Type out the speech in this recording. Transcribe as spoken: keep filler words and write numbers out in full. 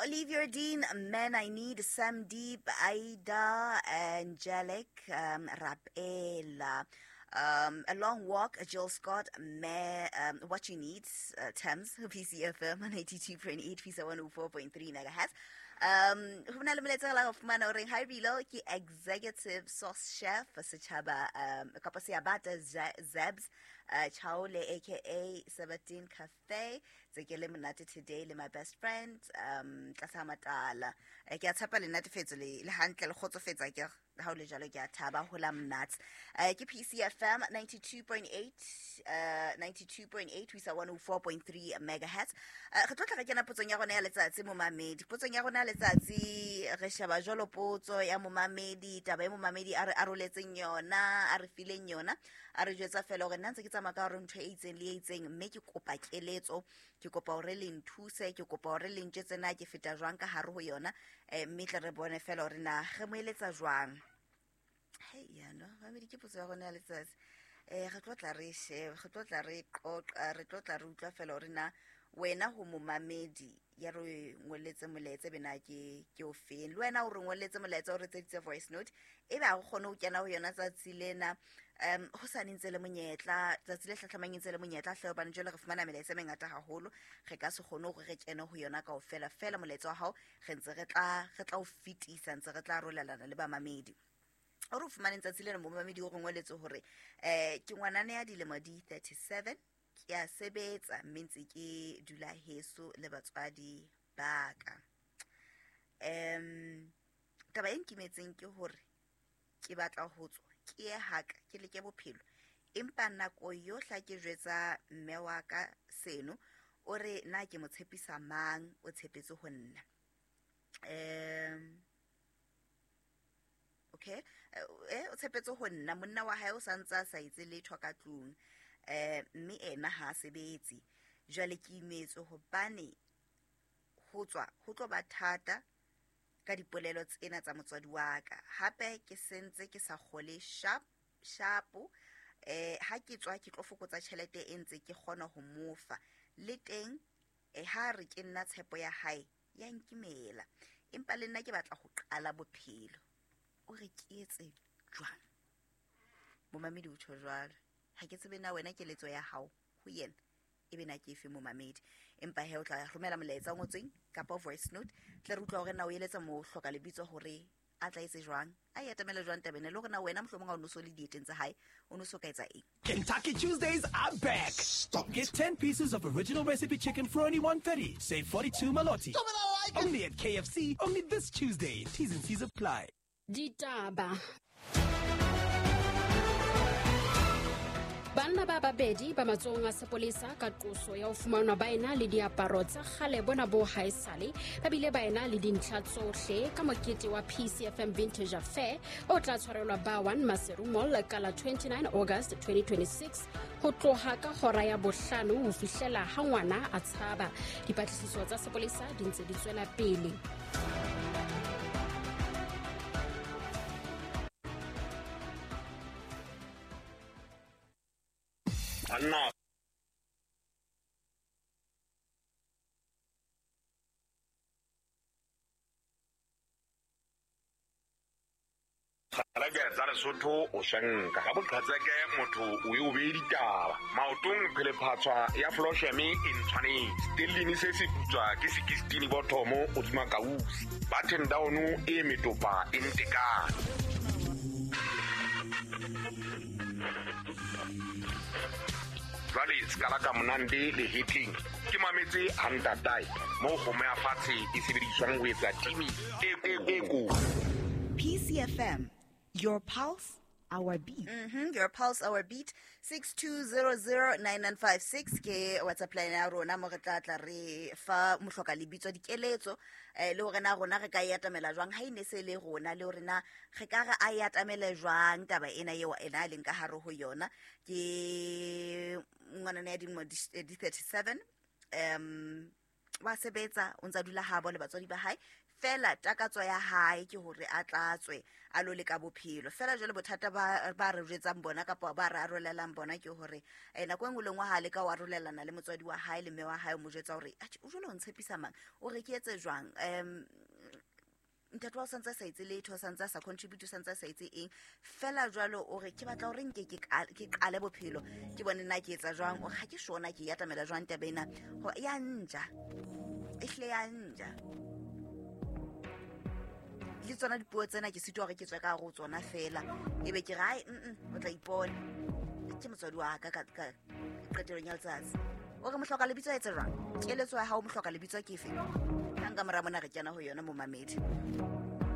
Olivia Dean, Man I Need, Sam Deep, Aida, Angelic, um, Rapela. Um, A Long Walk, Jill Scott, Me, um, What You Need, uh, Thames, P C F M, ninety-two point eight, P C one oh four point three megahertz. Um, ho na le molaetsa la go fumana o reng, hi Bilo, ke executive sauce chef setjhaba, um, kapa Seabata Zebs, uh, Chaole, aka Seventeen Cafe, tse ke le monate today le my best friend, um, tlasa matala. Ke a tshepa le natefetso le le hantle le kgotsofetsa ke ha o le jalo ke a thaba ho la monate. Uh, ke P C F M ninety-two point eight, uh, ninety-two point eight ho isa one oh four point three megahertz. Uh, re tlo tla re kena potsong ya rona ya letsatsi momamedi. Potsong ya rona ya letsatsi re sheba jwalo potso ya momamedi, taba e momamedi a re aroletseng yona, a re fileng yona, a re jwetsa fela hore nna ntse ke tsamaya ka hore ntho e itseng le e itseng, mme ke kopa keletso, ke kopa hore le nthuse, ke kopa hore le ntjetse na ke feta jwang ka hare ho yona, eh, mme tle re bone fela hore na re mo eletsa jwang. Hey, ya no, mamedi ke potso ya rona ya letsatsi. Eh, re tlo tla re shebe, re tlo tla re qoqa, re tlo tla re utlwa fela hore na wena ho momamedi ya re ngoletse molaetsa bena ke ke o feng, le wena o re ngoletse molaetsa o re tseditse voice note ebe ha o kgone ho kena ho yona tsatsi lena, um ho sa ntse le monyetla tsatsi le hlahlamang ntse le monyetla hle, hobane jwale re fumana melaetsa e mengata haholo, re ka se kgone hore re kene ho yona kaofela. Fela molaetsa wa hao re ntse re tla re tla o fetisa, ntse re tla arolelana le bamamedi. O re fumane tsatsi lena momamedi o re ngoletse hore eh ke ngwanana ya dilemo di thirty-seven, ke a sebetsa mme ntse ke dula heso le batswadi ba ka. Um taba e nkimetseng ke hore ke batla ho tswa ke ye haka ke leke bophelo, empa nako yohle ha ke jwetsa mme wa ka seno o re na ke mo tshepisa mang, o tshepetse ho nna. Um okay, eh o tshepetse ho nna, monna wa hae o sa ntse a sa etse letho ka tlung, eh mme ena ha sebetse. Jwale ke imetswe hobane ho tswa ho tlo ba thata ka dipolelo tsena tsa motswadi wa ka, hape ke sentse ke sa kgole sharp sharp, eh ha ke tswa ke tlo fokotsa tjhelete e ntse ke kgona ho mofa le teng, eh ha re ke nna tshepo ya hae ya nkimela, empa le nna ke batla ho qala bophelo. O re ke etse jwang? Momamedi o tjho jwalo, ha ke tsebe na wena keletso ya hao ho yena ebe na ke efe momamedi, empa he o tla romela molaetsa o ngotsweng kapa voice note tle re utlwa hore na o eletsa mo hloka lebitso hore a tla etse jwang, a e atamele jwang tabeng le hore na wena mohlomong ha o no so le dieteng tsa hae o no so ka etsa eng. Kentucky Tuesdays are back. Stop. Get ten pieces of original recipe chicken for only one thirty. Save forty-two maloti. Stop it, I like it. Only at K F C, only this Tuesday. T's and C's apply. Ditaba. Banna ba babedi ba matsohong a sepolesa ka qoso ya ho fumanwa ba ena le diaparo tsa kgale bona bo haesale, ba bile ba ena le dintlha tsohle ka mokete wa P C F M Vintage Affair o tla tshwarelwa ba one Maseru Mall ka la twenty-nine August twenty twenty-six ho tloha ka hora ya bohlano ho fihlela ha ngwana a tshaba. Dipatlisiso tsa sepolesa di ntse di tswela pele. Anna Kgalake tsa Lesotho o shanka ga boqhatseke motho o e o beye ditaba maotong phelephatswa ya Flosheme e ntshwanetse stellini se se putswa ke sixteen bothomo o tsuma kausi button down e metopa e ntekane. Jwale skala ka monande le hitting ke mametse hantatai mo kgomo ya fatshe e sebediswang ho etsa timi e e ko. P C F M, your pulse, our beat. Mm-hmm, your pulse, our beat. six two zero zero nine nine five six ke WhatsApp line ya rona mo re tla tla re fa mohloka lebitso dikeletso, eh le hore na rona re ka e atamela jwang ha ine se le rona, le hore na re ka re a e atamele jwang taba ena eo ena a leng ka hare ho yona. Ke ngwanana ya dilemo di thirty-seven, um wa sebetsa o ntsa dula habo le batswadi ba hae, Fela takatso ya hae ke hore a tlatswe a lo leka bophelo. Fela jwale bothata ba ba re jwetsang bona kapa ba re arolelang bona ke hore eh, nako e nngwe le nngwe ha le ka o arolelana le motswadi wa hae le mme wa hae, o mo jwetsa hore atjhe, o jwale o ntshepisa mang, o re ke etse jwang, um ntate wa o santse a sa etse letho, o santse a sa contribute, o santse a sa etse eng. Fela jwalo o re ke batla hore nke ke qale, ke qale bophelo, ke bone nna ke etsa jwang, o re ha ke sure na ke e atamela jwang taba ena, ho ya nja, ehlile ya nja. Le tsona dipuo tsena ke sitwa hore ke tswe ka hare ho tsona fela, ebe ke re ai, mm-mm, o tla ipona ke motswadi wa ka ka, ka qetellong ya letsatsi. O re mohloka lebitso a etse jwang? Keletso ya hao mohloka lebitso ke efe? Ka nka mora mona re kena ho yona momamedi.